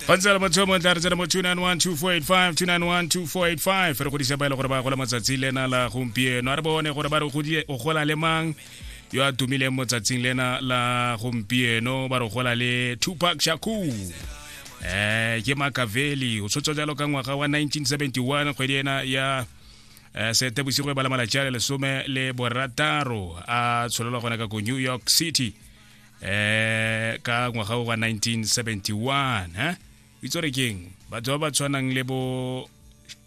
Go ntse le motho yo montle, a re tsena mo 2912485, 2912485. Re godisa ba e le gore ba gola matsatsi lena la gompieno. A re bone gore ba re o gola le mang yo a tumileng mo tsatsing lena la gompieno. Ba re gola le Tupac Shakur, ke Makaveli, o tshotswa jalo ka ngwaga wa 1971, kgwedi ena ya Seetebosigo e bala malatsi a le 16, a tsholelwa gona ka ko New York City ka ngwaga wa 1971. Eh itse gore keng, batho ba ba tshwanang le bo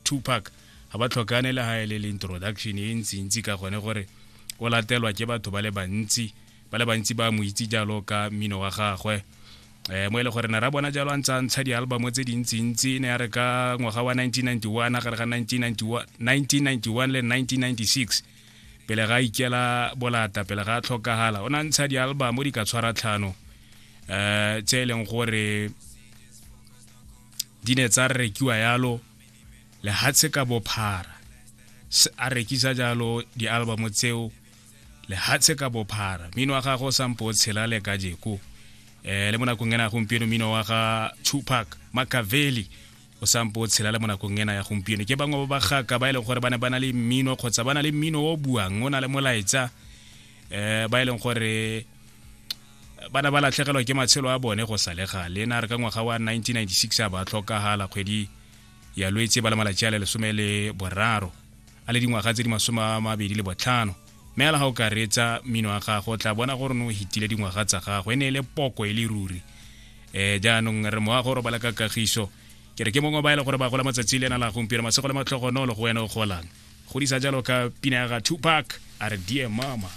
Tupac ga ba tlhokane le ga e le introduction e ntsi-ntsi, ka gone gore o latelwa ke batho ba le bantsi, ba le bantsi ba mo itse jalo ka mmino wa gagwe, mo e le gore ne ra bona jalo a ntse a ntsha di-album tse dintsi-ntsi. Ne ya re ka ngwaga wa 1991, gare ga 1991 le 1996, pele ga ikela bolata, pele ga a tlhokagala, o ne a ntsha di-album di ka tshwara tlhano, tse e leng gore di ne tsa rekiwa yalo lehatshe ka bophara. A rekisa jalo di-album tseo lehatshe ka bophara. Mmino wa gagwe o sampo o tshela le kajeko, le mo nakong ena ya gompieno. Mmino wa ga Tupac Makaveli o sampo o tshela le mo nakong ena ya gompieno. Ke bangwe ba bagaka ba e leng gore ba ne ba na le mmino, kgotsa ba na le mmino o buang, o na le molaetsa, ba e leng gore ba ne ba latlhegelwa ke matshelo a bone go sa le gale. Na re ka ngwaga wa 1996 a ba tlhokagala, kgwedi ya Lwetse ba le malatsi a le 13, a le dingwaga tse di 25. Mme ala ga o ka reetsa mmino wa gago, o tla bona gore no o hitile dingwaga tsa gago. E ne e le poko e le ruri. Jaanong re moago robala ka kagiso. Ke re ke mongwe ba e le gore ba gola matsatsi le ena la gompieno. Masego le matlhogonolo go wena o golang. Godisa jalo ka pina ya ga Tupac, a re, "Dear Mama".